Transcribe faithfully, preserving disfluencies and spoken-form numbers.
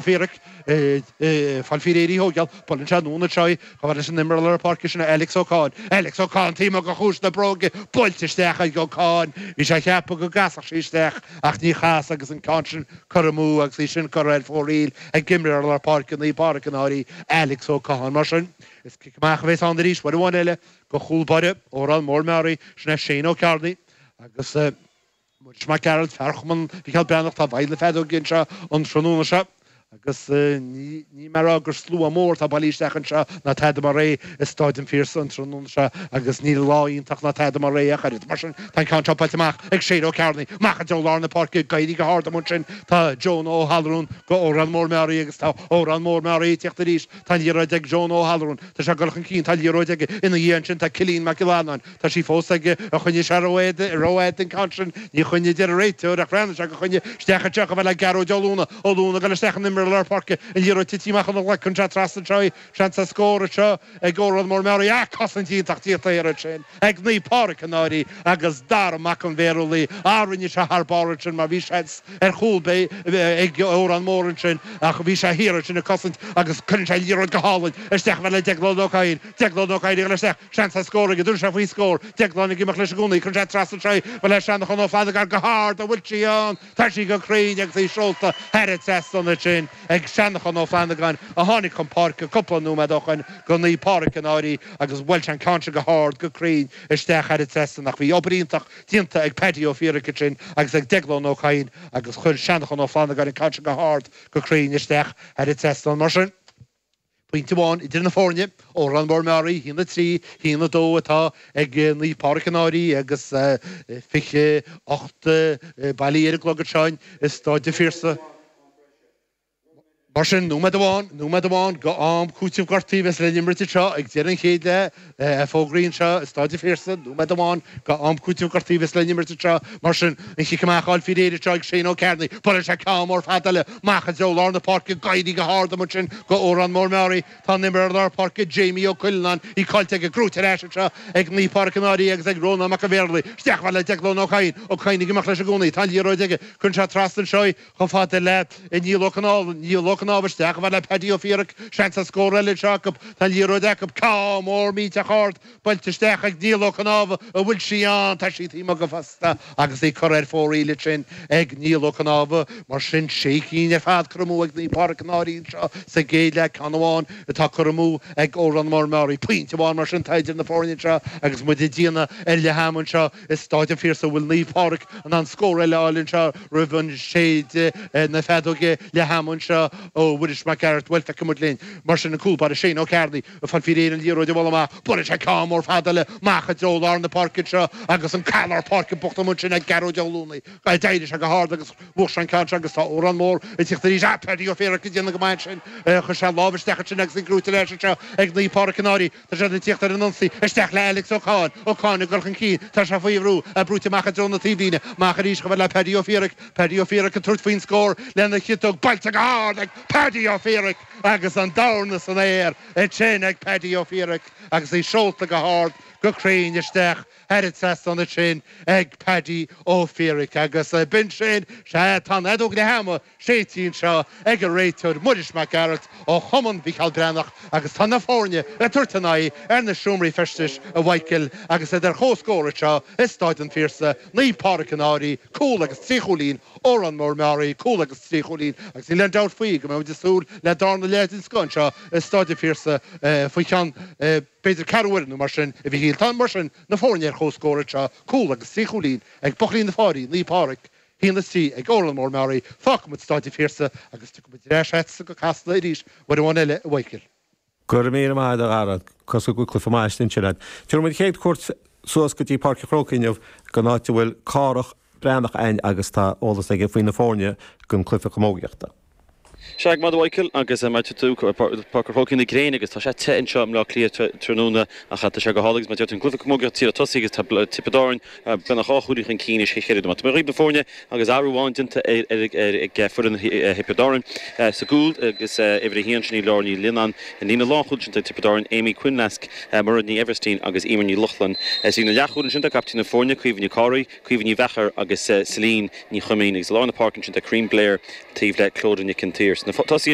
Fiaraic fáil faoi réir í thógáil, buaileann sé anonn anseo í, chomh fada leis an imreoir lár páirce sin Alex Ó Cadhain. Alex Ó Cadhain taobh amuigh de chuas na bróige, buailte isteach ag Ó Cadhain. Bhí sé ag ceapadh go gcasfadh sí isteach ach ní chas agus an ceann sin curtha amú agus í sin curtha ar fóraoil ag imreoir lár páirce Naomh Pádraig an Fhairche, Alex Ó Cadhain. Mar sin, is cic amach a bheas ann arís, uair amháin eile, do chúl báire Órán Mór Meáraí, sin é Shane Ó Cearnaigh agus Muiris Mac Gearailt, fear Chumann Mhicheál Breathnach, tá i bhfeighil na feadóige anseo an tráthnóna seo agus ní mé a rá gur slua mór atá bailithe isteach anseo ná tada mar é i Stáid an Phiarsaigh an tráthnóna seo agus ní lá iontach ná tada mar é ach oiread. Mar sin, tá an ceann seo buailte amach ag Shane Ó Cearnaigh, amach i dtreo lár na páirce, ag éirí go hard amuigh ansin tá Jonah Ó hAllarún go Órán Mór Meáraí agus tá Órán Mór Meáraí ag tíocht arís. Tá an liathróid ag Jonah Ó hAllarún, tá sé ag dul chun cinn, tá an liathróid aige ina dhiaidh ansin tá Cillian Mac Giollarnáin, Tá sí fós aige, ar choinnigh sé rófhada an ceann sin? Ní choinnigh, a deir an réiteoir, ach bhreathnaigh sé gur choinnigh. Isteach anseo chomh fada le Gearóid Ó Lúna. Ó Lúna ag dul isteach an imreoir lár páirce, an liathróid tite amach óna ghlac anseo trasna anseo í. Seans ar scór anseo ag Órán Mór Meáraí. Ach cosaint iontach déanta thiar ansin ag Naomh Pádraig an Fhairche agus Dara Mac an Bhéarlaí. Á rinne sé thar barr ansin mar bhí seans ar chúl ag Órán Mór ansin ach bhí sé thiar ansin ag cosaint agus cuireann sé an liathróid go hálainn isteach chomh fada le Deaglán Ó Cadhain. Deaglán Ó Cadhain ag dul isteach. Seans ar scór aige, dúirt sé faoi scór. Deaglán ag imeacht leis i gcónaí, cuireann sé trasna anseo í, chomh fada le Seanchán Ó Flannagáin go hard, an bhfuil sí ann? Tá sí go cruinn agus í seolta thar an trasnán ansin ag Seanchán Ó Flannagáin a tháinig chun páirce cúpla nóiméad ó shoin go Naomh Pádraig an Fhairche agus bhuail sé an ceann sin go hard go cruinn isteach thar an trasnán ach bhí obair iontach déanta ag Paddy Ó Fiaraic ansin agus ag Deaglán Ó Cadhain agus chuir Seanchán Ó Flannagáin an ceann sin go hard go cruinn isteach thar an trasnán. Mar sin. Pointe amháin idir na foirne, Órán Mór Meáraí, a haon a trí, a haon a dó atá ag Naomh Pádraig an Fhairche agus fiche ocht bailithe ar an gclog anseo i Stáid an Phiarsaigh. Mar sin, nóiméad amháin, nóiméad amháin go am cúitimh gortaithe a bheas le n-imirt anseo ag deireadh an chéad leath, fógraí anseo i Stáid an Phiarsaigh, nóiméad amháin go am cúitimh gortaithe a bheas le n-imirt anseo. Mar sin, an chic amach á fháil faoi réir anseo ag Shane Ó Cearnaigh. Buaileann sé ceann mór fada eile amach i dtreo lár na páirce, ag éirí go hard amuigh ansin go Órán Mór Meáraí. Tá an imreoir lár páirce Jamie Ó Cuileanáin, í caillte aige, gnóite ar ais anseo ag Naomh Pádraig an Fhairche agus ag Rónán Mac an Bhéarlaí. Isteach chomh fada le Deaglán Ó Cadhain. Ó Cadhain ag imeacht leis i gcónaí. Tá an liathróid aige. Cuireann sé trasna anseo í chomh fada le Niall Ó Cnámha. Niall Ó Cnámha isteach chomh fada le Paddy Ó Fiaraic. Seans ar scór eile anseo acu. Tá an liathróid acu. Ceann mór millteach ard. Buailte isteach ag Niall Ó Cnámha, an bhfuil sí ann? Tá sí taobh amuigh go fosta agus í curtha ar fóraoil ansin ag Niall Ó Cnámha. Mar sin, sé cinn ar fad curtha amú ag Naomh Pádraig an Fhairche anseo sa gcéad leath, ceann amháin atá curtha amú ag Órán Mór Meáraí. Pointe amháin mar sin atá idir na foirne anseo agus muid ag déanamh ar leath ama anseo i Stáid an Phiarsaigh. An bhfuil Naomh Pádraig in ann scór eile a fháil anseo roimh an séideadh na feadóige leath ama anseo ó Mhuiris Mac Gearailt? Bhuel, feicfidh muid linn. Mar sin, an cúl báire Shane Ó Cearnaigh. Ag fáil faoi réir an liathróid a bhualadh amach. Buaileann sé ceann mór fada eile amach i dtreo lár na páirce anseo agus an fear lár páirce bocht amuigh ansin ag Gearóid Ó Luanaigh. D'éirigh sé go hard agus bhuaigh sé an ceann seo agus tá Órán Mór ag tíocht arís. Ah, Paddy Ó Fiaraic ag déanamh go maith ansin. Chuir sé lámh isteach ansin agus í gnóite ar ais anseo ag Naomh Pádraig an Fhairche. Tá siad ag tíocht ar an ionsaí. Isteach le Alex Ó Cadhain. Ó Cadhain ag dul chun cinn. Tá sé faoi bhrú. É brúite amach i dtreo na taobhlíne. Amach arís chomh fada le Paddy Ó Fiaraic. Paddy Ó Fiaraic ag tabhairt faoin scór lena chiotóg. Buailte go hard ag Paddy Ó Fiaraic agus an dorn san aer. Ansin ag Paddy Ó Fiaraic agus í seolta go hard go cruinn isteach thar an trasnán ansin ag Paddy Ó Fiaraic agus b'in sin, sea, tá an fheadóg leath ama séidte anseo ag an réiteoir Muiris Mac Gearailt ó Chumann Mhicheál Breathnach agus tá na foirne ag tabhairt a n-aghaidh ar na seomraí feistis a Mhichael agus iad ar comhscór anseo i Stáid an Phiarsaigh, Naomh Pádraig an Fhairche, cúl agus trí chúilín Órán Mór Meáraí, cúl agus trí chúilín agus níl aon dabht faoi go mbeidh muid ag súil le darna leath den scoth anseo i Stáid an Phiarsaigh faoi cheann b'fhéidir ceathrú uaire nó mar sin, a Mhichíl. Tá, mar sin, na foirne ar comhscór anseo, cúl agus trí chúilín ag buachaillí na Fáirí, Naomh Pádraig, a haon a trí ag Órán Mór Meáraí. Fágfaidh muid Stáid an Phiarsaigh agus tiocfaidh muid ar ais agatsa go Casla arís uair amháin eile, a Mhichíl. Go raibh míle maith agat, a Dhara. Cosúil go bhfuil cluiche maith istigh ansin agat. Tabharfaidh muid chéad cuairt suas go dtí Páirc an Chrócaigh inniu, don áit a bhfuil Cárthach Breathnach a'inn agus tá eolas aige faoi na foirne don cluiche camógaíochta. Sea, go maith a Mhichael, agus mar a deir tú, Páirc an Chrócaigh na gréine agus tá sé te anseo i mBleá Cliath tráthnóna ach tá sé go hálainn agus mar a deir tú an cluiche camógaíochta ag tosaí agus tá Tiobraid Árann beagnach dhá chúilín chun cinn anois théis ceithre nóiméad. Tá mé dhaoibh na foirne agus athrú amháin déanta ag foireann Thiobraid Árann sa gcúl agus uimhir a haon sin í Laura Ní Lionnáin. I líne lánchúil ansin tá Tiobraid Árann, Amy Quinlisk, Muireann Ní Eibhirtín agus Emer Ní Lochlainn. Sa líne leathchúil ansin tá captaen na foirne, Caoimhe Ní Cárthaigh, Caoimhe Ní Mheachair agus Celine Ní Chuimín agus i lár na páirce ansin tá Corinne Blair taobh le Clodagh Nic an tSaoir. na tosaithe